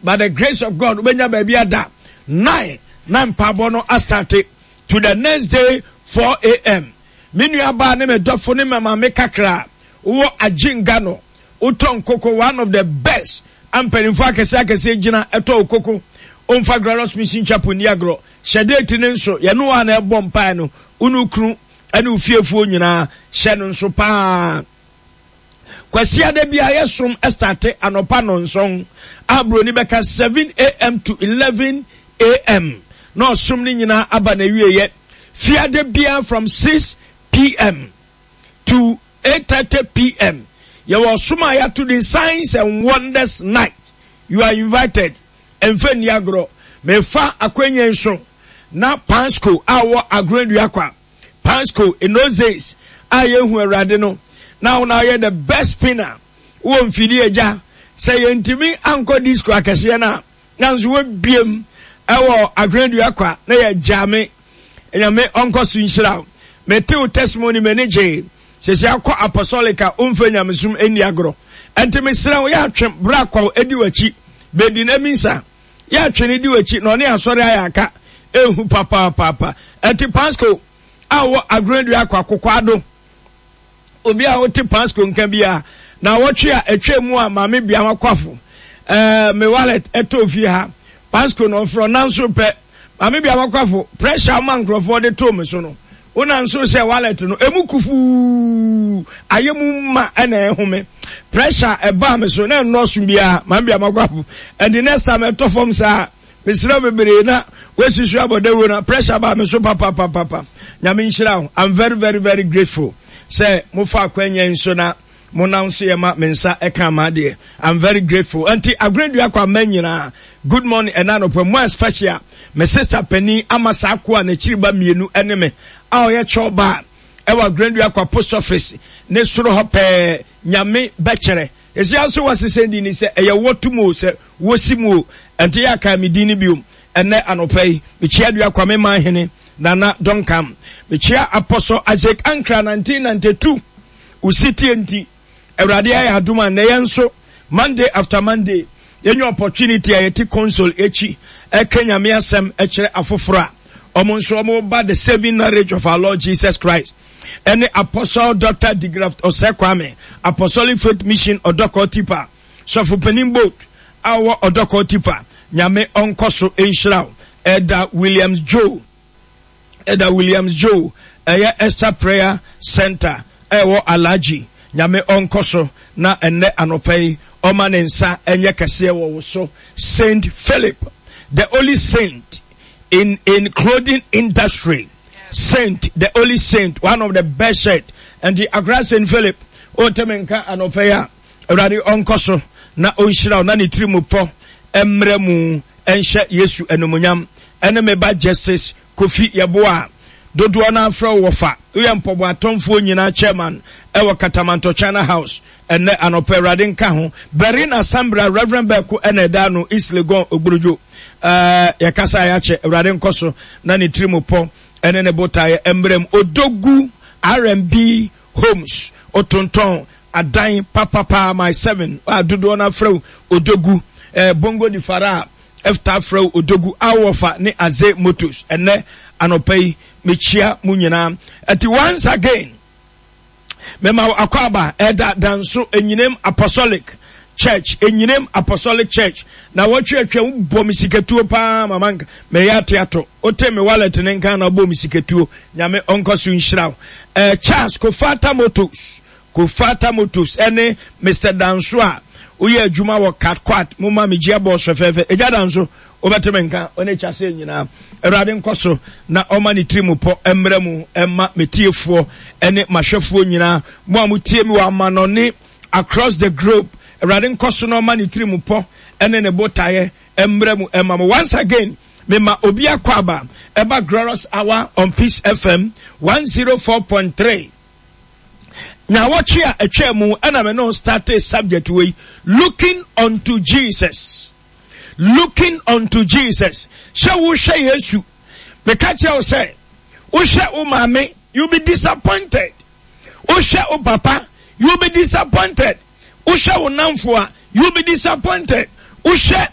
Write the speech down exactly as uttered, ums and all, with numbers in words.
By the grace of God, wobɛnya baabi ada. Nine na mpaebɔ no astarte to the next day four a.m. Me nua baa ne me dɔfo ne me maame kakra wowɔ Agyenga no, wotɔ nkoko, one of the best a mpanimfoɔ akɛseɛ akɛseɛ gyina ɛtɔ wo koko. Omfa Glorious Mission Chapel ni agorɔ. Hyɛ date ne nso, yɛne wo a na ɛbɔ mpae no, wo ne wo kunu ne wo fiefoɔ nyinaa hyɛ no nso paa. Kwasiada bi a yɛsom starte anɔpa nɔnson a buroni bɛka seven a m to eleven a m na ɔsom no nyinaa aba na awieɛ. Fiade biara from six p m to eight thirty p m yɛwɔ ɔsom a yɛato din Signs and Wonders Night. You are invited. Ɛmfa nni agorɔ. Mefa akwanya nso na Pansco a wɔ Agorɔndua kwa Pansco in those days a yɛhu Awurade no na wo na ɔyɛ the best spinner wɔ mfidie agya sɛ yɛntumi ankɔ disco akɛseɛ no a, nanso wɔbiem ɛwɔ Agorɔndua kwa na yɛgya me. Nyame ɔnkɔ so nhyira wo. Mete wo testimony, m'ani gyee. Sɛsɛ akɔ apostolic a womfa nyamesom ani agorɔ, ɛnti mesrɛ wo, yɛatwe berɛ akwaw adi w'akyi bɛdi na minsa yɛatwe ne di w'akyi na ɔne asɔre ayɛ aka ehu papaapapa. Ɛnti Pasco a wɔ Agorɔndua akɔ akokɔ obi a wote Pasco nka bi a na wɔtwe a atwa mu a maame bia wakwafo ɛɛ me wallet ɛtɔ fie ha. Pasco na ɔfrɛ nanso pɛ maame bia wakwafo pressure ama nkurɔfoɔ de too me so no, wona nso sɛ wallet no emu kufuu ayɛ mu ma ɛna ɛhome pressure ɛbaa me so na ɛnnɔɔso biara. Maame bia makwafo, ɛnti next time ɛtɔ fam saa, mesrɛ bebree na woasusu abɔ dawuro na pressure baa me so papapapapa. Nyame nhyira wo. I'm very, very, very grateful sɛ mofa akwanya nso na monam so yɛ ma me nsa ɛka ma adeɛ. I'm very grateful. Nti Agorɔdua kɔ ama nyinaa, good morning. Ɛna anɔpɛ mo especially me sister panin ama saa ko a n'akyiri ba mmienu ɛne me a ɔyɛ kyɛw ba ɛwɔ Agorɔdua kɔ post office ne soro hɔ pɛɛ. Nyame bɛkyerɛ esi aso wɔsesɛ di ni sɛ ɛyɛ wɔtu mu o, sɛ wɔsi mu o, ɛnti yɛ aka mi din ni biom. Ɛnɛ anɔpɛ yi mekyia Dua Kwame Manhene Nana Duncan, mekyia Apostle Isaac Ankra nineteen ninety-two usitie. Nti Awurade ayɛ adom a nnɛ yɛn nso Monday after Monday yɛnya opportunity a yɛte console akyi ɛka Nyame asɛm ɛkyerɛ afoforɔ a ɔmo nso ɔmo ba the saving knowledge of our Lord Jesus Christ. Ɛne Apostle Doctor Digraft Ɔsɛ Kwame, Apostolic Faith Mission Ɔdɔkɔ Tipa sɔfo panin boat a ɔwɔ Ɔdɔkɔ Tipa. Nyame ɔnkɔ so nhyira wo. Ɛda Williams Joe, Ɛda Williams Joe, ɛyɛ Esther Prayer Center ɛwɔ Alagye. Nyame ɔnkɔ so na ɛnnɛ anɔpa yi ɔma ne nsa ɛnyɛ kɛseɛ wɔ wo so. Saint Philip, the only saint in in clothing industry, saint, the only saint, one of the best shirt. And the Accra Saint Philip ɔntɛmɛ nka anɔpa yi a Awurade ɔnkɔ so na ɔnhyira wo na ne tiri mu pɔ mmerɛ mu ɛnhyɛ Yesu animuonyam. Ɛne me ba Justice Kofi Yɛboa a dodoɔ no afrɛ wo wɔfa, woyɛ mpɔbɔ atɔmfoɔ nyinaa chairman ɛwɔ Katamanto China House. Ɛnɛ anɔpɛ Awurade nka ho. Berina Sambra, Reverend Bɛko ɛna ɛda no East Legon Ogburujo. ɛɛ yɛkasa a yɛakyɛ. Awurade nkɔ so na ne tiri mu pɔ ɛne ne botaeɛ mmerɛ mu. Odogu R and B Homes, otontɔn adan papapa my seven a dodoɔ no afrɛ wo Odogu. ɛɛ bongo di fara a ɛfta afrɛ wo Odogu awɔfa ne Aze Motors. Ɛnɛ anɔpa yi mekyia mu nyinaa. Ɛti once again mema akɔ aba ɛda Danso Enyinam Apostolic Church, Enyinam Apostolic Church. Na wɔtwe atwa bɔ me sikatuo paa mama nka mɛyɛ ate ato wote me wallet ne nka na bɔ me sikatuo. Nyame ɔnkɔ so nhyira wo. ɛɛ Charles Kofata Motors, Kofata Motors ɛne Mister Danso a woyɛ adwuma wɔ Katkwat, mo ma me gyia bɔs fɛfɛɛfɛ. Egya Danso, wobɛte me nka ɔne kyase nyinaa. Awurade nkɔ so na ɔma ne tiri mu pɔ mmerɛ mu ɛma metiefoɔ ɛne mahwɛfoɔ nyinaa, mo a motie mi wɔ amanɔne across the globe. Awurade nkɔ so na ɔma ne tiri mu pɔ ɛne ne botaeɛ mmerɛ mu ɛma mo. Once again mema obi akɔ aba ɛba Glorious Hour on Peace F M one zero four point three. Na wɔtwe a atwa mu ɛna me no start subject wei, looking unto Jesus, looking unto Jesus. Sɛ wohwɛ Yesu, meka kyerɛ wo sɛ wohwɛ wo maame, you be disappointed. Wohwɛ wo papa, you be disappointed. Wohwɛ wo namfo a, you be disappointed. Wohwɛ